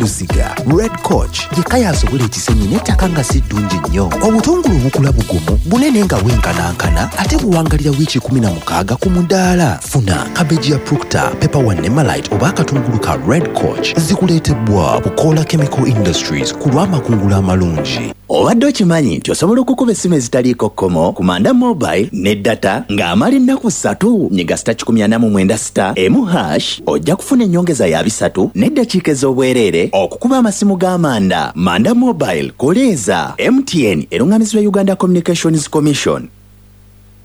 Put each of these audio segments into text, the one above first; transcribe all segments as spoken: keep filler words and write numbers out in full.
Luziga Red Coach yekka yasobola ekisenyi n'ettaka nga si ddungi nnyo. Obutungulu bukula bugumu, bunene nga bwenkanankana, ate buwangalira wiiki kumi na mukaaga ku mudaala. Funa cabbage ya Proctor, Pepper One ne Malite oba akatungulu ka Red Coach. Zikuleetebwa Bukola Chemical Industries ku lw'amakungula amalungi. Obadde okimanyi nti osobola okukuba essimu ezitaliiko kkomo ku Manda Mobile ne data ng'amala ennaku ssatu? Nyiga sita kikumi ana mu mwenda sita emu hash, ojja kufuna ennyongeza ya bisatu n'eddakiika ez'obwereere okukuba amasimu ga Manda. Manda Mobile, koleeza. M T N eruŋŋamizibwa Uganda Communications Commission.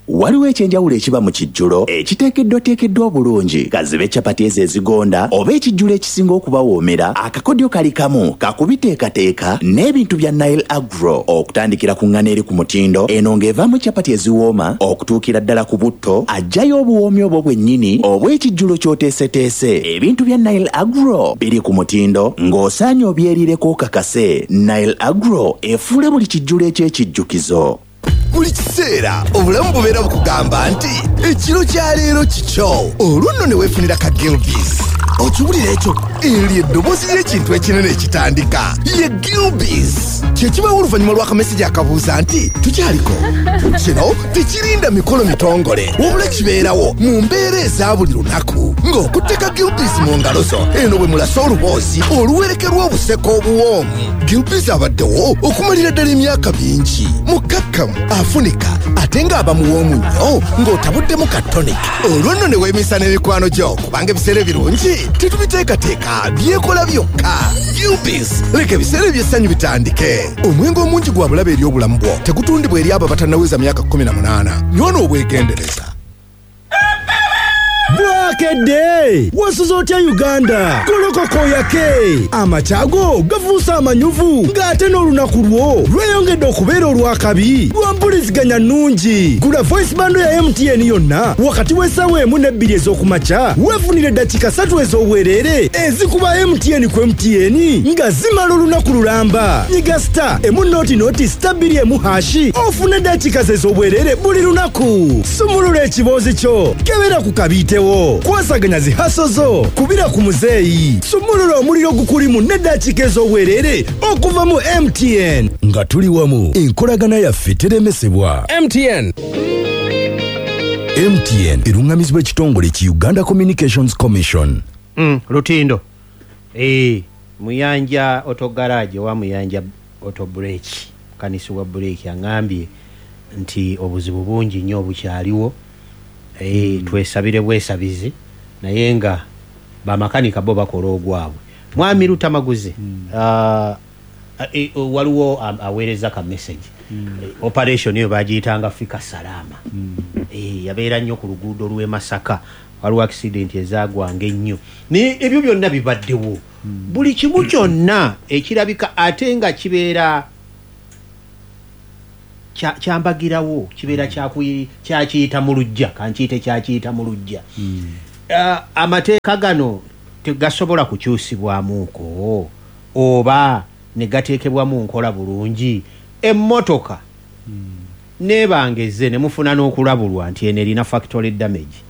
Waliwo ekyenjawulo ekiba mu kijjulo ekiteekeddwateekeddwa obulungi, kazibe capati ezo ezigonda oba ekijjulo ekisinga okubawoomera. Akakodyo kali kamu kakubiteekateeka n'ebintu bya Nile Agro, okutandikira ku ŋŋano eri ku mutindo eno ng'evaamu capati eziwooma, okutuukira ddala ku butto ajjayo obuwoomi obwo bwennyini obw'ekijjulo ky'oteeseteese. Ebintu bya Nile Agro biri ku mutindo ng'osaanye obyerireko okakase. Nile Agro efuula buli kijjulo eky'ekijjukizo. Buli kiseera obulamu bubeera bukugamba nti ekiro kya leero kikyo, olwo nno ne weefunira ka Gilbis. Okiwulira ekyo? Eryo eddoboozi ly'ekintu ekinene ekitandika ye Gilbis. Kyekibawo oluvannyuma lw'akamesegi akabuuza nti tukyaliko. Kino tekirinda mikolo mitongole, wabula kibeerawo mu mbeera eza buli lunaku ng'okutteka Gilbis mu ngalo zo eno bwe mulasa oluboozi oluwerekerwa obuseko obuwoomu. Gilbis abaddewo okumalira ddala emyaka mingi, mukkakkamu, afunika ate ng'aba muwoomu nnyo ng'otabuddemu ka tonic. Olwo nno ne weemisa n'emikwano gyo, kubanga ebiseera ebirungi tetubiteekateeka, byekola byokka. Gilbis, leka ebiseera eby'essanyu bitandike. Omwenge omungi gwa bulabe eri obulamu bwo. Tegutundibwa eri abo abatannaweza myaka kkumi na munaana. Nywa n'obwegendereza. Bwakedde, wasuze otya Uganda? Golokoka oyake, amakyago gafuuse amanyuvu ng'ate n'olunaku lwo lweyongedde okubeera olwakabi lwa mpuliziganya nnungi. Gula voice bundle ya M T N yonna wakati w'essaawa emu n'ebbiri ez'okumakya, weefunire eddakiika ssatu ez'obwereere ezikuba M T N ku M T N nga zimala olunaku lulamba. Nyiga star emu noti noti star bbiri emu hash ofune eddakiika ze ez'obwereere buli lunaku. Sumulula ekiboozi kyo, kebera ku kabiitewo, kwasaganya zi hustle zo, kubira ku muzeeyi, sumulula omuliro gukulimu n'eddakiika ez'obwereere okuva mu M T N. Nga tuli wamu, enkolagana yaffe teremesebwa. M T N. M T N eruŋŋamizibwa ekitongole ki Uganda Communications Commission. Mm, lutindo Eh, Muyanja Auto Garage owa Muyanja Auto Brake, mukanisi wa brake aŋambye nti obuzibu bungi nnyo obukyaliwo. Eh, twesabire bwesabizi, naye nga bamakanika bo bakola ogwabwe. Mwami Lutamaguzi, ah, eh, waliwo ah, aweereza ka message. Eh, operation eyo bagiyitanga Fika Salama. Eh, yabeera nnyo ku luguudo lw'e Masaka, waliwo accident ezagwanga ennyo, naye ebyo byonna bibaddewo. Buli kimu kyonna ekirabika ate nga kibeera kya- kyambagirawo, kibeera kyakuyi- kyakiyita mu luggya, kankiyite kyakiyita mu luggya. Ah, amateeka gano tegasobola kukyusibwamuuko oba ne gateekebwa mu nkola bulungi? Emmotoka nebangeze ne mufuna n'okulabulwa nti eno erina factory damage.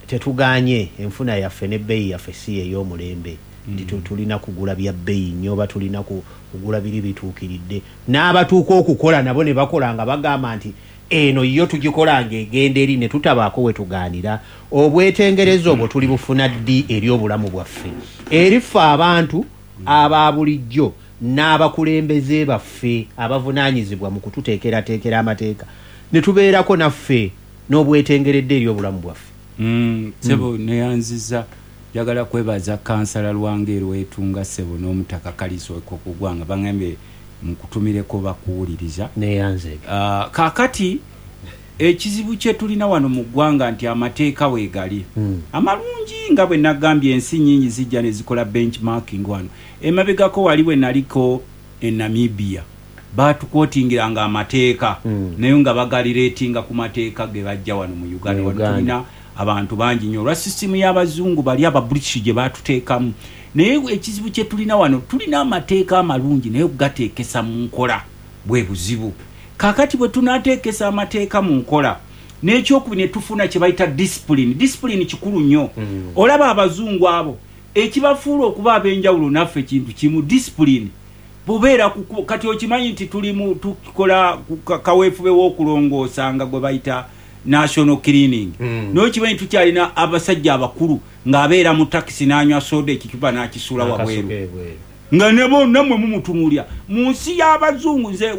Tetuganye, enfuna yaffe n'ebbeeyi yaffe si ey'omulembe nti tu- tulina kugula bya bbeeyi nnyo oba tulina ku- kugula biri bituukiridde. N'abatuuka okukola nabo ne bakola nga bagamba nti eno yo tugikola ng'egenda eri, ne tutabaako we tugaanira. Obwetengereza obwo tuli bufuna ddi eri obulamu bwaffe, eri ffe abantu aba bulijjo n'abakulembeze baffe abavunaanyizibwa mu kututeekerateekera amateeka, ne tubeerako naffe n'obwetengeredde eri obulamu bwaffe? Mm, sebo neyanziza. Njagala kwebaza kansala Lwange Lwetunga, sebo, n'omutaka Kaliso Kugwanga. Bagambye nkutumireko, bakuwuliriza. Neyanze. Uh, kaakati ekizibu kye tulina wano mu ggwanga nti amateeka weegali Mm. amalungi, nga bwe nagambye, ensi nyingi zijja ne zikola benchmarking wano. Emabegako wali bwe naliko e Namibia, batukwotingiranga amateeka, Mm. naye nga bagalireetinga ku mateeka ge bajja wano mu Uganda. Mu Wano Uganda. tulina abantu bangi nnyo olwa sisitimu y'abazungu bali aba British gye batuteekamu. Naye ekizibu kye tulina wano, tulina amateeka amalungi, naye okugateekesa mu nkola bwe buzibu. Kaakati bwe tunaateekesa amateeka mu nkola, n'ekyokubiri ne tufuna kye bayita discipline. Discipline kikulu nnyo. Mm. Olaba abazungu abo, Ekibafuula okuba ab'enjawulo naffe kintu kimu, discipline. Bubeera kati okimanyi nti tuli tukola kaweefube w'okulongoosa nga gwe bayita national cleaning. Mm. N'okimanyi tukyalina abasajja abakulu ng'abeera mu takisi n'anywa soda ekicupa n'akisuula wabweru, nga ne bonna mmwe mumutunuulira. Mu nsi y'abazungu nze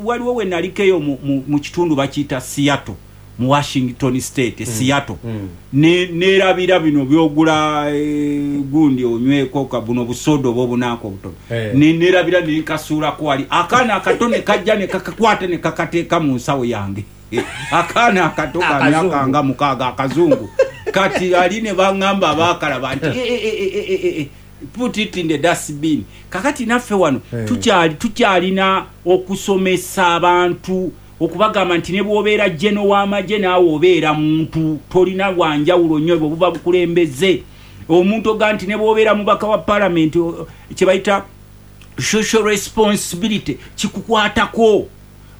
waliwo we nalikeyo mu kitundu bakiyita Seattle, mu Washington State, mm. Seattle. Mm. Ne nerabira bino byogula e, gundi onyweko buno busodo oba obunanko obutono. Hey. Ne nerabira ne nkasuulako wali akaana akato ne kajja ne kakakwata ne kakateeka mu nsawo yange. Akaana akato ka myaka nga mukaaga akazungu. Kati ali ne baŋŋamba abaakalaba nti e, e, e, e, e, put it in the dustbin. Kakati naffe wano hey. tukyali tukyalina okusomesa abantu okubagamba nti ne bw'obeera jeno w'amagye naawe obeera muntu, tolina wanjawulo nnyo bwe buba bukulembeze. Omuntu oga nti ne bw'obeera mubaka wa palamenti kye bayita social responsibility kikukwatako.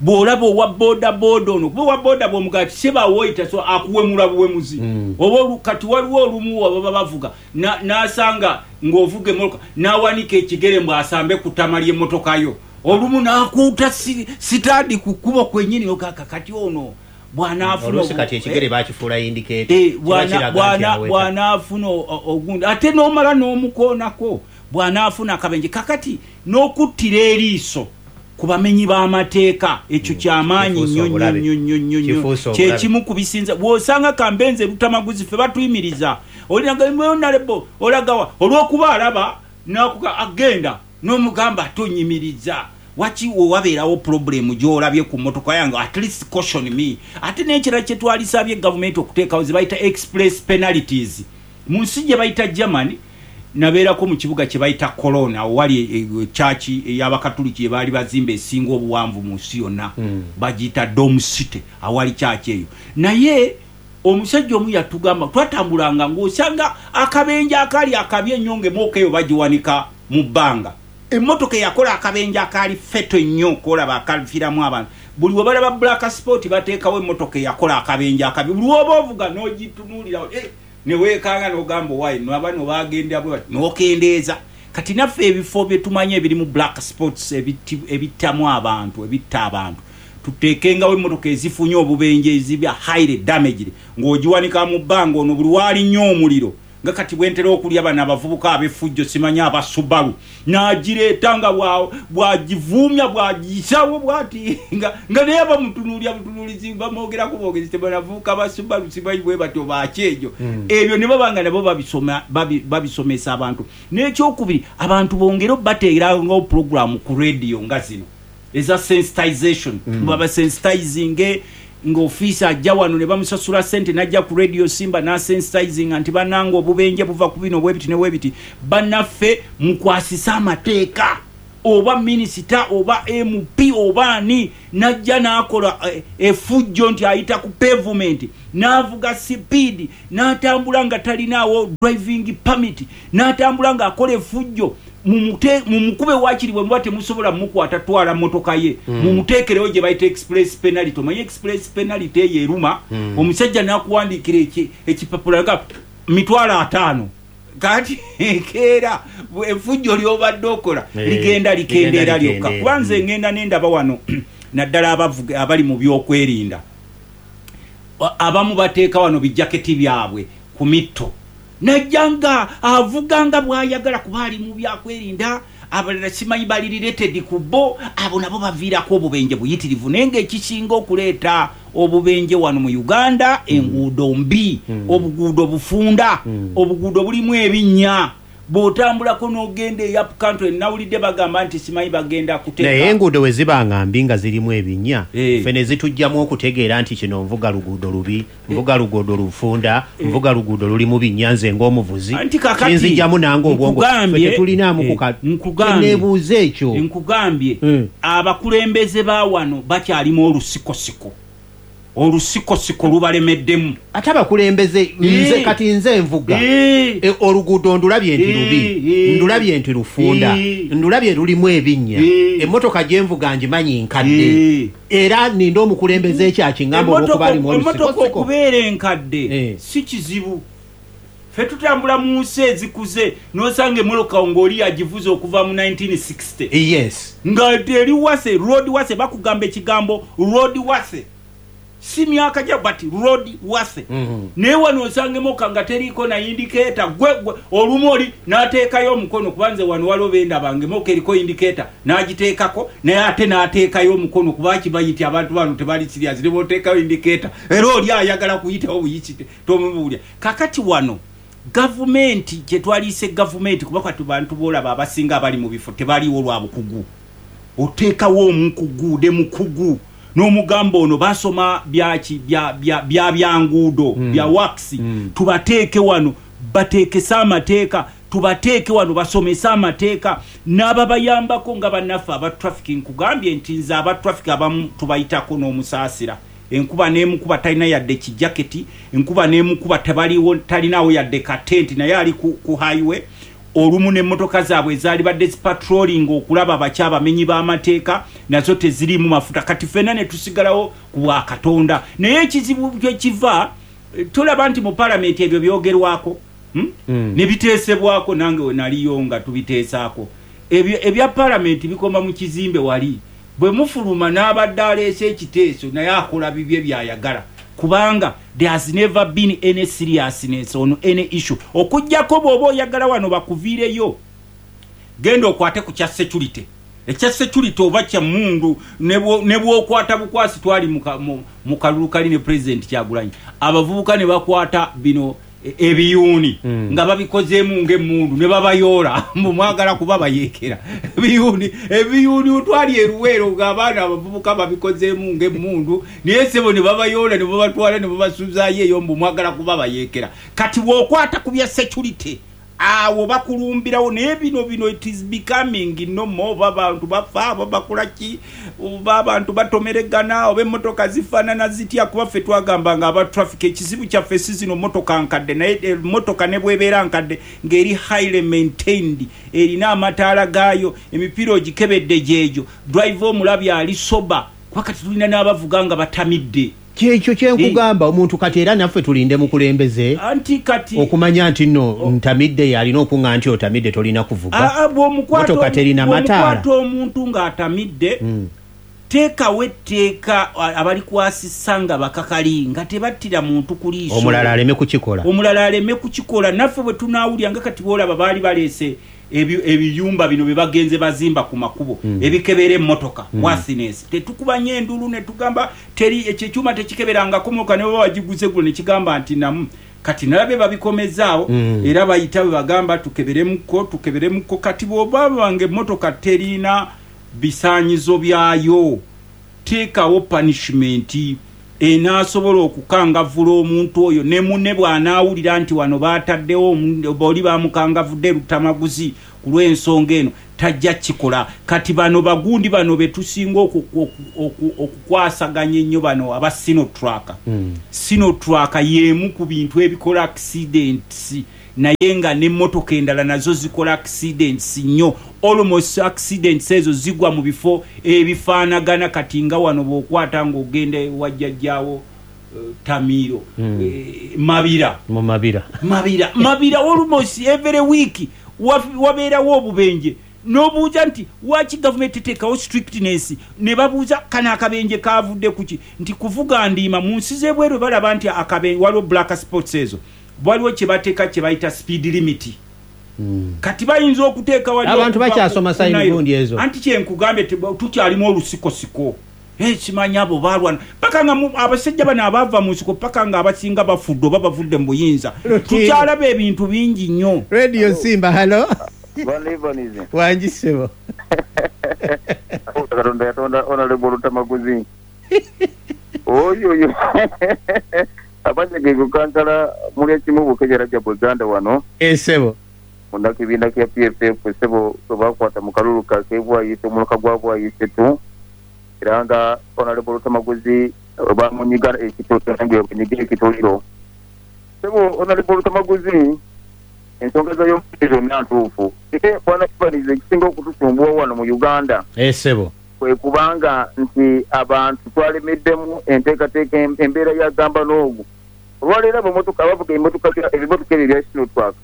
Bw'olaba owa boda boda ono, kuba owa boda bw'omugaa ti sebawoyita so akuwemula buwemuzi. Mm. Oba kati waliwo olumu ababa bavuga n'asanga ng'ovuga emmotoka n'awanika ekigere mbu asambe ku ttama ly'emmotoka yo. Olumu n'akuuta sitaadi ku kkubo kwennyini ogaka kati ono bw'anaafuna kati ekigere bakifuula indicator bw'anaafuna ogundi ate n'omala n'omukoonako bw'anaafuna akabenje. Kakati n'okuttira eriiso ku bamenyi b'amateeka ekyo kyamaanyi nnyo nnyo nnyo nnyo nnyo, kyekimu ku bisinza. Bw'osanga kambenze Lutamaguzi ffe batuyimiriza olinagalebo olagawa olw'okuba alaba n'akuga agenda n'omugamba tonyimiriza waki wabeerawo problemu gy'olabye ku mmotoka yange, at least caution me. Ate n'ekirala kye twalisabye gavumenti okuteekawo ze bayita express penalties. Mu nsi gye bayita Germany, nabeerako mu kibuga kye bayita Cologne, awo wali church ey'abakatuliki gye baali bazimba esinga obuwanvu mu nsi yonna, mm. bagiyita Dome City, awali church eyo. Naye omusajja omu yatugamba twatambulanga ng'osanga akabenje akaali akabi ennyo ng'emmotoka eyo bagiwanika mu bbanga. Emmotoka eyakola akabenje akaali feto ennyo kolaba akafiiramu abantu, buli we balaba black spot bateekawo emmotoka eyakola akabenje akabi, buli woba ovuga n'ogitunuulira eh, ne weekanga n'ogamba owaayi nabano bagenda bwe bati n'okendeeza. Kati naffe ebifo bye tumanyi ebirimu black spots ebittamu abantu, ebitta abantu, tuteekengawo emmotoka ezifunye obubenje ezibya highly damaged ng'ogiwanika mu bbanga ono buli waali nnyo omuliro. Nga kati bwentera okulya bano abavubuka ab'effujjo simanyi aba Subaru n'agireeta nga bw'agivuumya bw'agiyisawo bw'ati nga naye bamutunuulya butunuulizi bamwogerako bwogezi tebanavubuka ba Subaru simanyi bwe batyo bakyejo. Ebyo ne baba nga nabo babisomesa abantu. N'ekyokubiri abantu bongere bateerangawo pulogulaamu ku rediyo nga zino eza sensitization, babasensitizinge ng'ofiisa ajja wano ne bamusasula ssente n'ajja ku Radio Simba n'asensitizing nti bannange obubenje buva ku bino bwebiti ne bwebiti, bannaffe mukwasise amateeka. Oba minisita oba M P oba ani n'ajja n'akola effujjo nti ayita ku pavement n'avuga sipiidi n'atambula nga talinaawo driving permit n'atambula ng'akola effujjo, mumukube wakiri bwe muba temusobola mukwata twala mmotoka ye, mumuteekerewo gye bayita express penalty. Omanyi express penalty eyo eruma, omusajja n'akuwandiikira ekipapula nga mitwalo ataano. Kati keera effujjo ly'obadde okola ligenda likendeera lyokka. Kuba nze ngenda nendaba wano naddala abali mu byokwerinda abamu bateeka wano bijaketi byabwe ku mitto, najja nga avuga nga bw'ayagala kuba ali mu byakwerinda, abalala simanyi bali related ku bo, abo nabo baviirako obubenje buyitirivu. Naye ng'ekisinga okuleeta obubenje wano mu Uganda enguudo mbi, obuguudo bufunda, obuguudo bulimu ebinnya. Bw'otambulako n'ogenda e up country nawulidde bagamba nti simanyi bagenda kuteeka. Naye enguudo we ziba nga mbi nga zirimu ebinnya, ffe ne zitujjamu okutegeera nti kino nvuga luguudo lubi, nvuga luguudo lufunda, nvuga luguudo lulimu binnya nze ng'omuvuzi kinzijjamu nange obwongo. Ffe tetulinaamu kuneebuuza ekyo. Nkugambye abakulembeze ba wano bakyalimu olusikosiko, olusikosiko lubalemeddemu. Ate abakulembeze nze kati nze nvuga oluguudo ndulabye nti lubi, ndulabye nti lufunda, ndulabye lulimu ebinnya, emmotoka gye nvuga ngimanyi nkadde, era ninda omukulembeze ekyakiŋŋamba olw'okuba alimu olusikosiko. Emmotoka okubeera enkadde si kizibu. Ffe tutambula mu nsi ezikuze n'osanga emmotoka ng'oli yagivuze okuva mu nineteen sixty. Yes. Nga teri wase, road wase, bakugamba ekigambo road wase. Si myaka gya but road wase. Mm-hmm. Naye wano osanga emmotoka nga teriiko na indicator, gwe, gwe olumu oli n'ateekayo omukono, kuba nze wano waliwo bendaba nga emmotoka eriko indicator n'agiteekako, naye ate n'ateekayo omukono kuba kimanyi nti abantu bano tebali serious, ne bw'oteekayo indicator era oli ayagala kuyitawo buyiti tomubuulira. Kakati wano gavumenti kye twaliise gavumenti, kuba kati bantu b'olaba abasinga abali mu bifo tebaliiwo lwa bukugu. Oteekawo omukugu ne mukugu n'omugamba ono basoma byaki bya bya bya byanguudo mm. bya wax mm. tubateeke wano bateekese amateeka, tubateeke wano basomese amateeka n'ababayambako nga bannaffe aba traffic. Nkugambye nti nze aba traffic abamu tubayitako n'omusaasira, enkuba n'emukuba talina yadde kijaketi, enkuba n'emukuba tebaliwo talinawo yadde katenti, naye ali ku, ku highway. Olumu n'emmotoka zaabwe ezaali badde zipatrolling okulaba abakyabamenyi b'amateeka nazo teziriimu mafuta. Kati ffenna ne tusigalawo ku bwa Katonda. Naye ekizibu kye kiva, tolaba nti mu palamenti ebyo byogerwako, hmm? Mm. Ne biteesebwako, nange we naliyo nga tubiteesaako. Ebyo ebya palamenti bikoma mu kizimbe wali, bwe mufuluma n'abadde aleese ekiteeso naye akola bibye by'ayagala, kubanga there has never been any seriousness on any issue. Okuggyako bw'oba oyagala wano bakuviireyo, genda okwate ku kya security. Ekya security oba kya mundu ne bw'okwata bukwasi, twali mu kalulu kali ne President Kyagulanyi, abavubuka ne bakwata bino ebiyuuni mm. nga babikozeemu ng'emmundu ne babayoola mbu mwagala kuba bayeekera ebiyuuni. Ebiyuuni otwali eruweero ng'abaana abavubuka babikozeemu ng'emmundu, naye ssebo ne babayoola ne babatwala ne babasuzaayo eyo mbu mwagala kuba bayeekera. Kati bw'okwata ku bya security awo bakulumbirawo. Naye bino bino it is becoming no more. Oba abantu bafa, oba bakola ki, oba abantu batomeregana, oba emmotoka zifaanana zitya, kuba ffe twagamba nga aba traffic ekizibu kyaffe si zino mmotoka nkadde, naye emmotoka ne bw'ebeera nkadde ng'eri highly maintained, erina amataala gaayo, emipiira ogikebedde gyegyo, driver omulabye ali sober, kuba kati tulina n'abavuga nga batamidde. Kyekyo kyenkugamba omuntu kati era naffe tulinde mukulembeze anti kati okumanya nti nno ntamidde yalina okuŋŋa nti otamidde tolina kuvuga, motoka terina mataala. Bw'omukwata omuntu ng'atamidde, mm. teekawo etteeka abalikwasisa nga bakakali, nga tebattira muntu ku liiso, omulala aleme kukikola, omulala aleme kukikola. Naffe bwe tunaawulira nga kati bw'olaba baali baleese ebiyumba bino bye bagenze bazimba ku makubo mm. ebikebera emmotoka mm. worthiness, tetukubanye endulu ne tugamba teri ekyo ekyuma tekikeberangako mmotoka, ne baba bagiguze gulo ne kigamba nti namu. Kati nalabye babikomezaawo mm. era bayita bwe bagamba tukeberemuko tukeberemuko. Kati bw'oba banga emmotoka terina bisaanyizo byayo, teekawo punishment enaasobola okukangavvula omuntu oyo, ne munne bw'anaawulira nti wano baataddewo oli bamukangavudde Lutamaguzi ku lw'ensonga eno, tajja kikola. Kati bano bagundi bano be tusinga okukwasaganya ennyo, bano aba Sinotruk. mm. Sinotruk y'emu ku bintu ebikola accidents, naye nga n'emmotoka endala nazo zikola accidents nnyo. Almost accidents ezo zigwa mu bifo ebifaanagana. Kati nga wano bw'okwata ng'ogenda wajjajjaawo uh, Tamiiro mm. eh, Mabira mu Mabira Mabira Mabira almost every week wabeerawo obubenje. N'obuuza nti waki gavumenti eteekawo strictness, ne babuuza kano akabenje kavudde kuki, nti kuvuga ndiima. Mu nsi z'ebweru balaba nti akabenje waliwo black spots ezo, waliwo kye bateeka kye bayita speed limit. Mm. Kati bayinza okuteeka wali abantu bakyasoma sign gundi ezo. Anti kye nkugambye tukyalimu olusikosiko. Eh, simanyi abo balwana paka nga abasajja bano abaava mu nsiko paka nga abasinga bafudde oba bavudde mu buyinza. Tukyalaba ebintu bingi nnyo. Radio Simba, hello. Wangi ssebo. Katonda yatonda Honorable Lutamaguzi. Oyo oyo abanye ge kansala muli ekimu bukejera gya Buganda wano. Esebo. Munda kibiina kya P F F sebo bakwata mu kalulu ka kebwayise omuluka gwa bwayise tu. Era nga Honorable Lutamaguzi bamunyiga ekitooke nange bunyiga ekitoliro. Sebo Honorable Lutamaguzi ensonga zayo zonna ntuufu. Ate bwana Kibanize ekisinga okutusumbuwa wano mu Uganda. Esebo. Kwe kubanga nti abantu twalemeddemu enteekateeka embeera ya gamba n'ogu Olwaleero abamotoka abavuga emmotoka ebimotoka ebyo ebya Sinotrak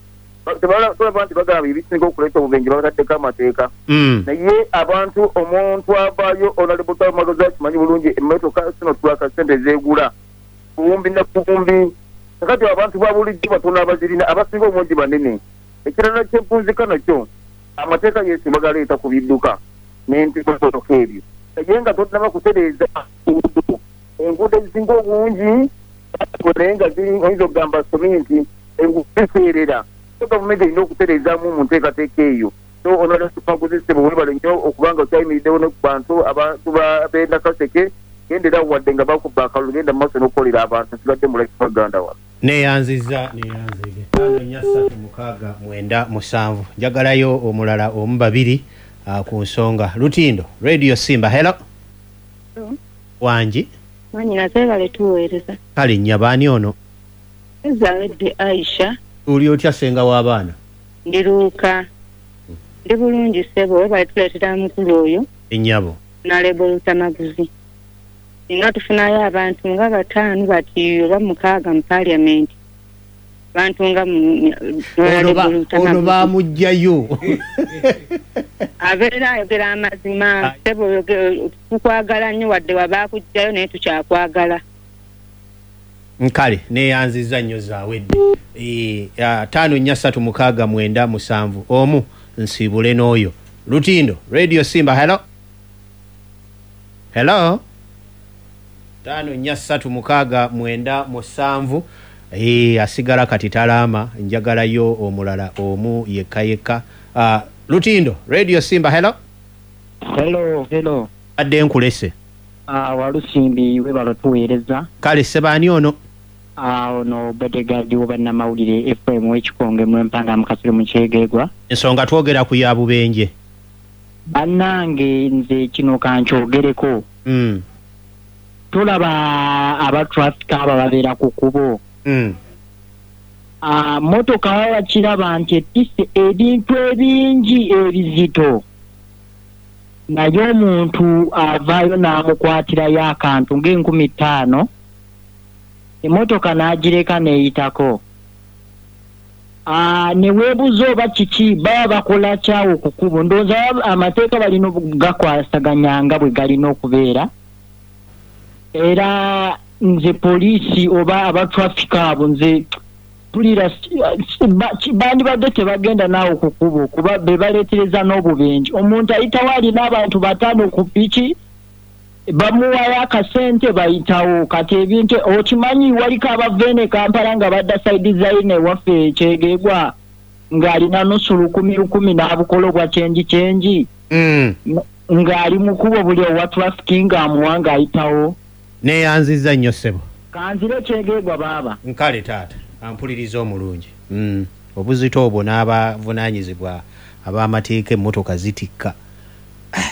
tulaba nti bagamba ebisinga okuleeta obubenje babataddeko amateeka. Naye abantu omuntu avaayo Honorable Lutamaguzi akimanyi bulungi emmotoka Sinotrak ssente zeegula buwumbi na buwumbi. Kakati abantu ba bulijjo batono abazirina, abasinga obungi banene. Ekirala kyempunzika nakyo amateeka yesu bagaleeta ku bidduka n'emmotoka ebyo, naye nga tonnaba kutereeza enguudo. Enguudo ezisinga obungi naye nga ziri oyinza okugamba seminti enguudo ziseerera. So gavumenti erina okutereezaamu mu nteekateeka eyo. So Honorable Lutamaguzi ssebo weebale nnyo okubanga okyayimiriddewo ne ku bantu abantu b'e Nakaseke. Gendera wadde nga bakuba akalulu, genda mu maaso n'okukolera abantu. Nsigadde mulaki Uganda wano. Neyanziza neyanzige ttaano nnya ssatu mukaaga mwenda musanvu. Njagalayo omulala omu babiri uh, ku nsonga. Lutindo Radio Simba, hello. Wangi mwanyinaze webale tuweereza. Kale nnyaba, ani ono? Ezawedde Aisha. Oli otya ssenga w'abaana? Ndiruuka ndi bulungi ssebo, webale tuleetera mukulu oyo Ennyabo. Honorable Lutamaguzi. Singa tufunayo abantu nga bataano bati oba mukaaga mu parliament, bantu nga mu- Ono ba- Honorable ono Lutamaguzi baamugjayo. Abeera ayogera amazima ssebo, oyoge- tukwagala nnyo wadde wabaakugjayo naye tukyakwagala. Nkale neyanziza nnyo Zaawedde. Eh, ah, ttaano nnya ssatu mukaaga mwenda musanvu omu nsiibule n'oyo. Lutindo Radio Simba, hello. Hello. Ttaano nnya ssatu mukaaga mwenda musanvu. Eh, asigala kati talaama, njagalayo omulala omu yekka yekka. Ah, Lutindo Radio Simba, hello. Hello, hello. Adde nkulese. Ah, Walusimbi, webale tuweereza. Kale sebaani ono? Ah, ono bodyguard w'obannamawulire F M w'Ekikonge Mulempanga Mukasiro mu Kyegegwa. Ensonga twogera ku ya bubenje. Bannange, nze kino kankyogereko. Mm. Tulaba aba traffic aba babeera ku kkubo. Mm. Ah, motoka baba bakiraba nti etisse ebintu ebingi ebizito, naye omuntu avaayo n'amukwatirayo akantu ng'enkumi ttaano, emmotoka n'agireka n'eyitako. Ah, ne weebuuza oba kiki baba bakola kyawo ku kkubo. Ndowooza baba- amateeka balina okugakwasaganya nga bwe galina okubeera. Era nze poliisi oba aba traffic abo, nze mpulira si- ba- ki- bandibadde tebagenda naawe ku kkubo, kuba be baleetereza n'obubenje. Omuntu ayitawo alina abantu bataano ku piki, bamuwayo akasente bayitawo. Kati ebintu okimanyi, waliko abava eno e Kampala nga badda side zaine ewaffe Kyegegwa, ng'alina nusu lukumi lukumi n'abukola obwa change change Mm. ng'ali mu kkubo, buli owa traffic ng'amuwa ng'ayitawo. Neyanziza nnyo ssebo. Kanzire Kyegegwa baaba. Nkale taata ampuliriza omulungi. mm. obuzito obwo n'abavunaanyizibwa ab'amateeka, emmotoka zitikka. Ah,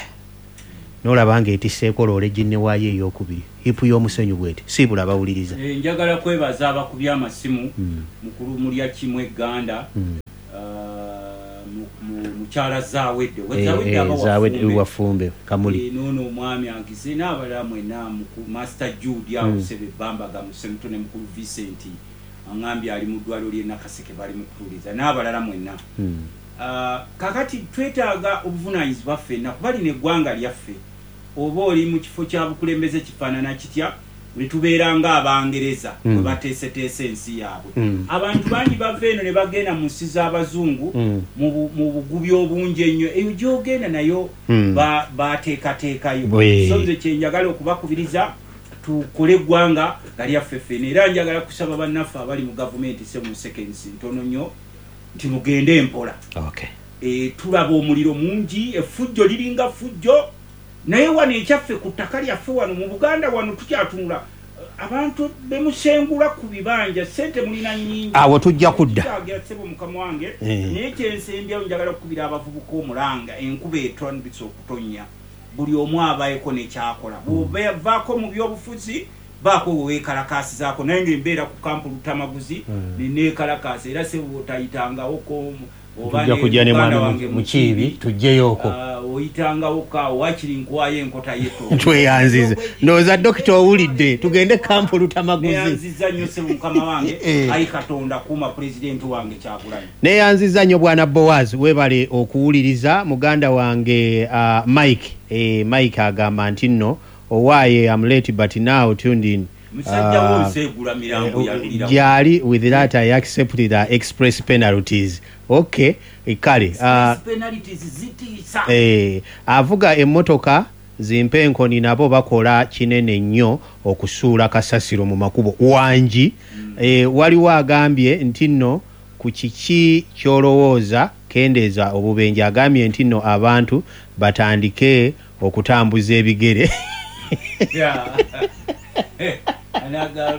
n'olaba ng'etisseeko loole ginne waayo ey'okubiri hipu y'omusenyu bweti siibula bawuliriza. Eh, njagala kwebaza abakubye amasimu, mukulu Mulya Kimu Egganda, ah, mu- mu- mukyala Zawedde. Eh, Zawedde eh, aba Zawedde Wafumbe. Wafumbe Kamuli. Eh, noono omwami angize n'abalala mwenna, muku- Master Jude awo Mm. Sebe Bambaga Musemuto ne mukulu Vincent aŋambye ali mu ddwaliro ly'e Nakaseke, bali mu kutuuliza n'abalala mwenna. Mm. Ah, kakati twetaaga obuvunaanyizibwa ffenna, kuba lino eggwanga lyaffe. Oba oli mu kifo kya bukulembeze kifaanana kitya, ne tubeera ng'Abangereza Mm. bwe bateeseteese ensi yaabwe. Mm. Abantu bangi bava eno ne bagenda mu nsi z'abazungu Mm. mu bu- mu bugubi obungi ennyo. Eyo gy'ogenda nayo Mm. ba- bateekateekayo. Bwe. So nze kyenjagala okubakubiriza, tukole eggwanga nga lyaffe ffena. Era njagala kusaba bannaffe abali mu gavumenti, seven seconds ntono nnyo, nti mugende empola. Okay. E, tulaba omuliro mungi, effujjo liringa fujjo, naye wano ekyaffe ku ttaka lyaffe wano mu Buganda wano tukyatunula abantu bemusengula ku bibanja, sente mulina nnyingi. Awo tujja kudda. Kyagira ssebo mukama wange. Eh. Naye kyensembyayo, njagala okukubira abavubuka omulanga. Enkuba etandise okutonnya, buli omu abaeko nekyakola. Bw'ovaako mu byobufuzi, baako weweekalakaasizaako, naye ngaembeera ku kampu Lutamaguzi Mm. Oyitangawo kaawo, wakiri nkwayo enkota yeto. Tweyanziza. Ndowooza dokita owulidde, tugende kampu Lutamaguzi. Neyanziza nnyo ssebo, mukama wange. Eh. Ayi Katonda, kuuma pulezidenti wange Kyagulanyi. Neyanziza nnyo bwana Boaz, webale okuwuliriza. Muganda wange uh, Mike, eh, Mike agamba nti nno owaaye am late but now tuned in. Musajja Ah, wo nseegula mirambo yalulira. Gyali with that I accept the express penalties. Okay, eh, kale uh, Penalties zitiisa. eh, avuga emmotoka zimpenkoni nabo bakola kinene nnyo okusuula kasasiro mu makubo wangi mm. Eh, waliwo agambye nti nno ku kiki ky'olowooza kendeeza obubenje, agambye nti nno abantu batandike okutambuza ebigere. Yeah. Anaga-